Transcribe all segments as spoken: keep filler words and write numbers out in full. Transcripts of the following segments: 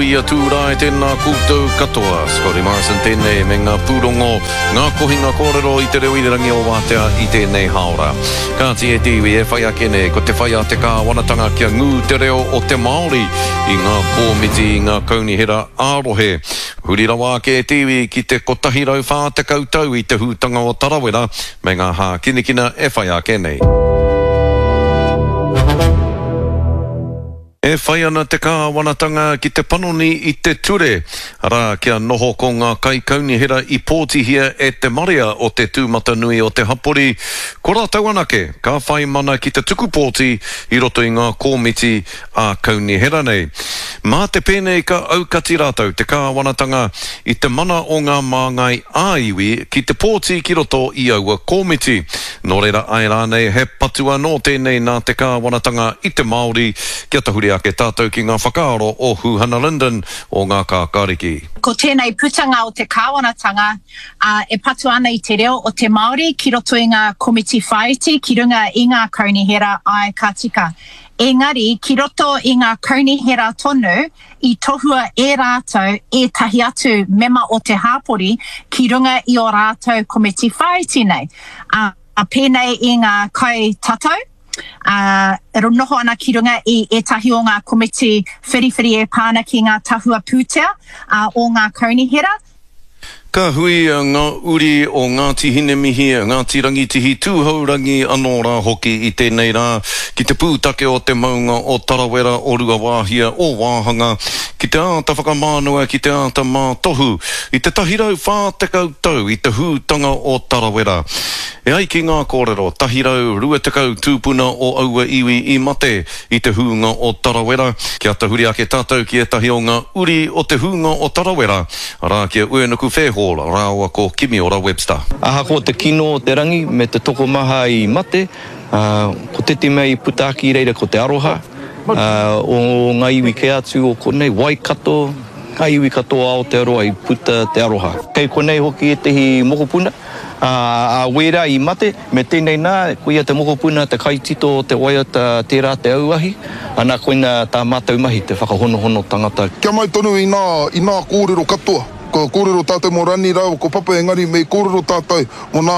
Tuia Tūrae, tēnā koutou katoa. Scotty Morrison tēnei me ngā pūrongo, ngā kohinga kōrero i te reo irirangi o Wātea i tēnei hāora. Kāti e te iwi e whai ake nei, ko te whai a te kāwanatanga kia ngū te reo o te Māori i ngā kōmiti i ngā kaunihera ā-rohe. Huri rawa ake e te iwi ki te kotahi rau whā tekau tau i te hūtanga o Tarawera me ngā hākinakina e whai ake nei. E whai ana te kāwanatanga ki te panoni i te ture, arā, kia noho ko ngā kaikaunihera i pōtihia e te marea o te tūmatanui o te hapori, ko rātou anake ka whai mana ki te tuku pōti i roto i ngā kōmiti ā-kaunihera nei. Mā te pēnei ka aukati rātou te kāwanatanga i te mana o ngā māngai ā-iwi ki te pōti ki roto i aua kōmiti. Nō reira āe rānei he patu anō tēnei nā te kāwanatanga i te Māori kia tahuri ake tātou ki ngā whakaaro o Huhana Lyndon o Ngā Kākāriki. Ko tēnei putanga o te kāwanatanga e patu ana i te reo o te Māori ki roto i ngā komiti whāiti ki runga i ngā kaunihera āe ka tika. Engari, ki roto i ngā kaunihera tonu i tohua e rātou ētahi atu mema o te hāpori ki runga i ō rātou komiti whāiti nei. Ā, pēnei i ngā kai tatau, ā, e noho ana ki runga i ētahi o ngā komiti whiriwhiri e pā ana ki ngā tahua pūtea o ngā kaunihera. Ka hui ngā uri o Ngāti Hinemihi, Ngāti Rangitihi, Tūhourangi anō rā hoki i tēnei rā ki te pūtake o te maunga o Tarawera, o Ruawāhia, o Wāhanga, ki te āta whakamānawa, ki te āta mātohu i te tahi rau whā tekau tau i te hūtanga o Tarawera. E ai ki ngā kōrero, tahi rau rua tekau tūpuna o aua iwi i mate i te hūnga o Tarawera. Kia tahuri ake tātou ki ētahi o ngā uri o te hūnga o Tarawera, arā ki a Uenuku Fairhall rāua ko Kimiora Webster. Ahakoa te kino o te rangi me te tokomaha i mate, ko te mea i puta ake i reira ko te aroha o ngā iwi kē atu o konei, Waikato, ngā iwi katoa o Aotearoa i puta te aroha. Kei konei hoki ētehi mokopuna, a wērā i mate, me tēnei nā, koia te mokopuna, te kaitito o te waiata Tērā te auahi, ana koina tā mātou mahi, te whakahonohono tangata. Kia mau tonu i nā, i nā kōrero katoa. Kua kōrero tātou mō Rani rāua ko Papa engari me kōrero tātou mō nā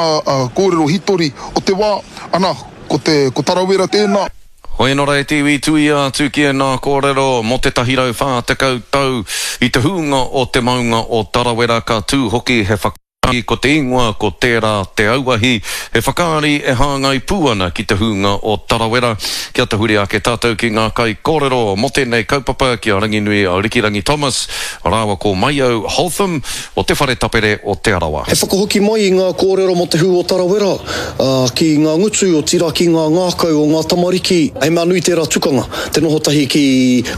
kōrero hitori o te wā, ana, ko te, ko Tarawera tēnā. Hoi anō rā e te iwi, tuia atu ki ēnā kōrero mō te tahi rau whā tekau tau i te hūnga o te maunga o Tarawera ka tū hoki he whakaari ko te ingoa ko Tērā te Auahi, he whakaari e hāngai pū ana ki te hūnga o Tarawera. Kia tahuri ake tātou ki ngā kaikōrero mō tēnei kaupapa ki a Ranginui Rikirangi Thomas rāua ko Maiau Holtham o Te Whare Tapere o Te Arawa. He whakahoki mai i ngā kōrero mō te hū o Tarawera, ā, ki ngā ngutu, otirā ki ngā ngākau o ngā tamariki. He mea nui tērā tukanga, te noho tahi ki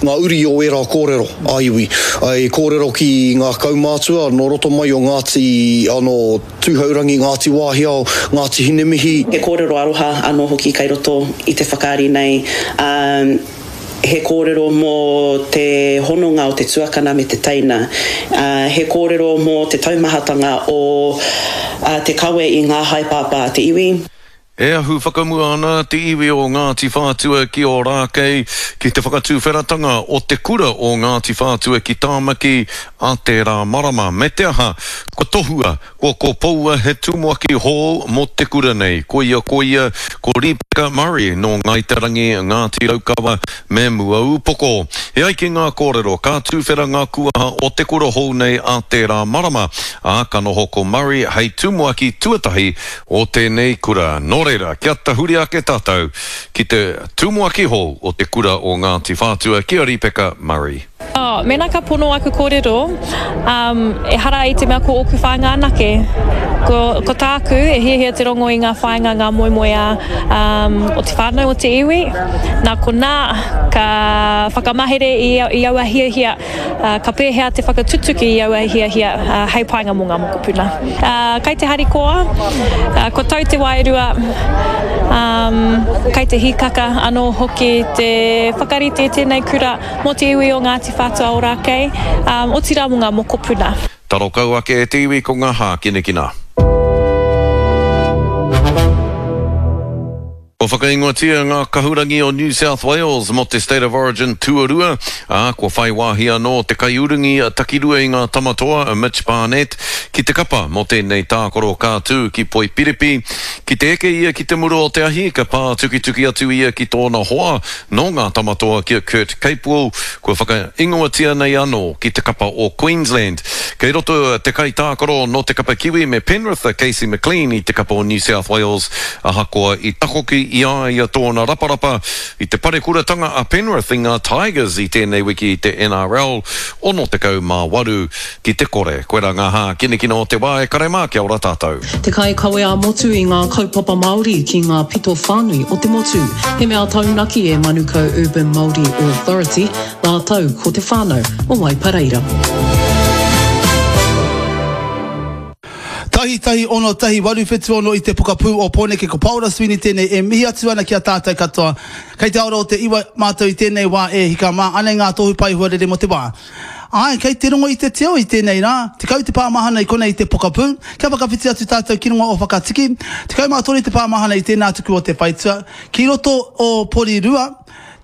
ngā uri o ērā kōrero ā-iwi. I kōrero ki ngā kaumātua nō roto mai o Ngāti, nō Tūhourangi, Ngāti Wāhiao, Ngāti Hinemihi. He kōrero aroha anō hoki kei roto i te whakaari nei, ā, he kōrero mō te hononga o te tuakana me te teina, ā, he kōrero mō te taumahatanga o te kawe i ngā haepāpā a te iwi. E ahu whakamua ana te iwi o Ngāti Whātua ki Ōrākei ki te whakatuwheratanga o te kura o Ngāti Whātua ki Tāmaki a tērā marama. Me te aha, kua tohua, kua kopoua he tumuaki hou mō te kura nei. Koia koia, ko Rīpeka Murray nō Ngāi Te Rangi, Ngāti Raukawa me Muaūpoko. E ai ki ngā kōrero, ka tuwhera ngā kuaha o te kura hou nei a tērā marama, ā, ka noho ko Murray hei tumuaki tuatahi o tēnei kura. Nō reira, kia tahuri ake tātou ki te tumuaki hou o te kura o Ngāti Whātua, ki a Rīpeka Murray. Oh, mēnā ka pono aku kōrero, um, ehara i te mea ko ōku whāinga anake. Ko, ko tāku, e hiahia te rongo i ngā whāinga, ngā moemoeā um, o te whānau, o te iwi. Nā konā, ka whakamahere i, i aua hiahia, uh, ka pēhea te whakatutuki i aua hiahia uh, hei painga mō ngā mokopuna. Uh, kai te harikoa, uh, kua tau te wairua, um, kai te hīkaka anō hoki te whakarite i tēnei kura mō te iwi o Ngāti Whātua Ōrākei, um, otirā mō ngā mokopuna. Taro kau ake e te iwi ko ngā hākinakina. Kua Kua whakaingoatia ngā kahurangi o New South Wales mō te State of Origin tuarua, ā, kua whai wāhi anō te kaiurungi takirua i ngā Tamatoa a Mitch Barnett ki te kapa mō tēnei tākaro ka tū ki Poipiripi. Ki te eke ia ki te mura o te ahi, ka pātukituki atu ia ki tōna hoa nō ngā Tamatoa ki a Kurt Capewell, kua whakaingoatia nei anō ki te kapa o Queensland. Kei roto te kaitākaro nō te kapa Kiwi me Penrith a Casey McLean i te kapa o New South Wales, ahakoa i takoki i a ia tōna raparapa i te parekuratanga a Penrith i ngā Tigers i tēnei wiki i te N R L, ono tekau mā waru ki te kore. Koirā ngā hākinakina o te wā e kare mā, kia ora tātou. Te kaikawe ā-motu i ngā kaupapa Māori ki ngā pito whānui o te motu. He mea taunaki e Manukau Urban Māori Authority, rātou ko te whānau o Waipareira. Tahi tahi ono tahi waru whitu ono i te pokapū o Pōneke ko Paora Sweeney tēnei e mihi atu ana ki a tātou katoa. Kei te aora o te iwa mātou i tēnei wā e hika mā, anei ngā tohu pai huarere mō te wā. Ai, kei te rongo i te teo i tēnei rā, tekau te pāmahana i konei i te pokapū, kia whakawhiti atu tātou ki runga o Whakatiki, tekau mā toru te pāmahana i tēnā tuku o te whaitua, ki roto o Porirua,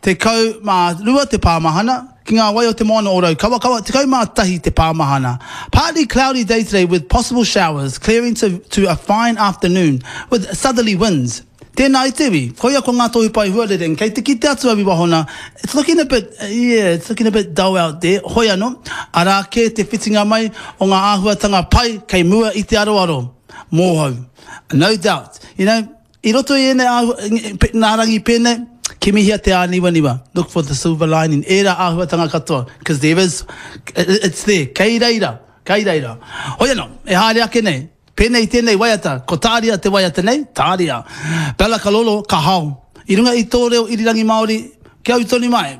tekau mā rua te pāmahana, ki ngā wai o te moana o Raukawakawa, tekau mā tahi te pāmahana. Partly cloudy day today with possible showers, clearing to, to a fine afternoon with southerly winds. Tēnā i te iwi, koia ko ngā tohu pai huarere, kei te kite atu au i wahona, it's looking a bit, yeah, it's looking a bit dull out there, hoi anō, arā kē te whitinga mai o ngā āhuatanga pai kei mua i te aroaro, mōhou. No doubt, you know, i roto i ēnei āhua, nā rangi pēnei, kimihia te āniwaniwa, look for the silver lining, ērā āhuatanga katoa, because there is, it's there, kei reira, kei reira. Hoi anō, e haere ake nei, pēnei tēnei waiata, ko tāria te waiata nei, tāria. Bella Kalolo, ka hao. I runga i tō reo irirangi Māori, kia au tonu mai.